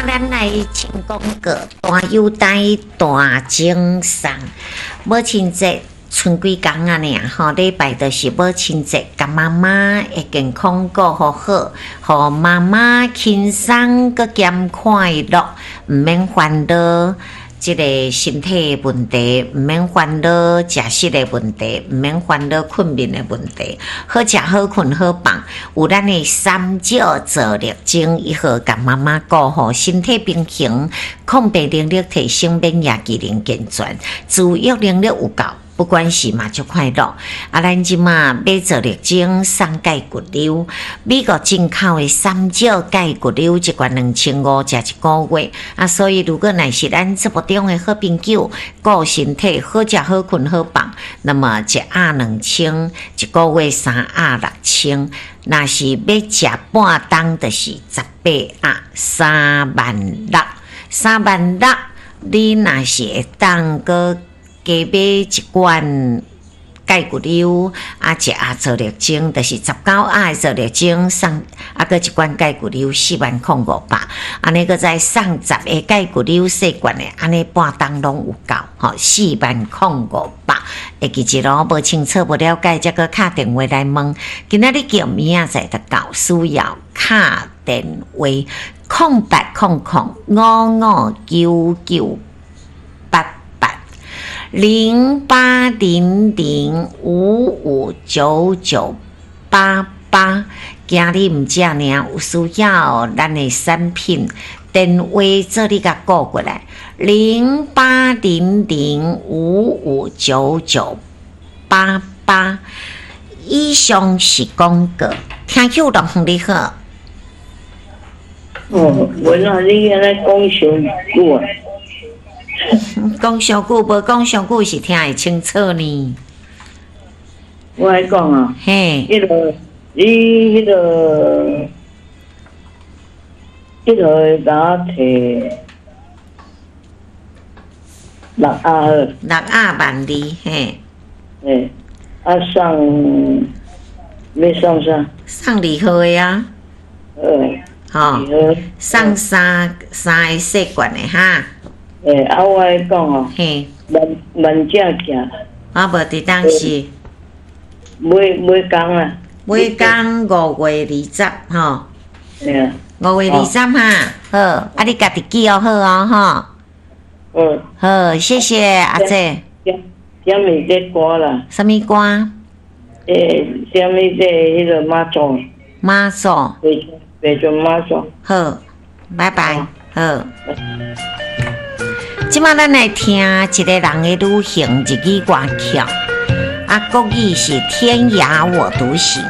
咱來唱廣告，大優待大贈送，母親節賰幾工仔爾吼，禮拜就是母親節，共媽媽的健康顧予好，予媽媽輕鬆閣兼快樂，毋免煩惱。這個身體的問題，毋免煩惱食食的問題，毋免煩惱睏眠的問題，好食好睏好放。有咱的三少做力爭，伊好共媽媽顧好身體平衡，抗病能力提升，免疫機能健全，自愈能力有夠。不管是嘛足快樂，啊！咱這馬買做力精送蓋骨溜，美國進口的三少蓋骨溜一罐2500，食一個月。啊，所以如果若是咱節目中的好朋友，顧身體好食好睏好放，那麼一盒2000，一個月三盒6000。若是欲食半擔，就是18盒3萬6，3萬6。你若是會當閣加買一罐蓋骨溜，啊，一盒做力精，就是19盒的做力精送，啊，閣一罐蓋骨溜4萬零500，按呢閣再送十個蓋骨溜細罐的，按呢半擔攏有夠，吼，4萬零500。會記一囉，無清楚無了解，才閣敲電話來問。今仔日叫明仔載就到，需要敲電話0800559988。0800559988，今日毋止爾，有需要咱的產品，電話做你共顧過來，0800559988。以上是廣告，聽友龍你好。哦，文啊，你按呢講傷久啊？講傷久無講傷久是聽會清楚呢。我來講啊，嘿，彼個你彼個彼個共我提六盒好。六盒12,000，嘿。嘿，啊送欲送啥？送禮盒的啊。好，吼，送三三个細罐的哈。欸，啊，我來講哦，嘿，萬萬正行。啊，無佇當時。每每工啊。每工5月20，吼。對啊。5月20哈，好，啊，你家己記哦，好哦，吼。嗯。好，謝謝阿姐。啥物這歌啦？啥物歌？欸，啥物這彼個媽祖？媽祖。白船媽祖。好，拜拜，好。這馬咱來聽一個人的旅行日語歌曲，啊，國語是天涯我獨行。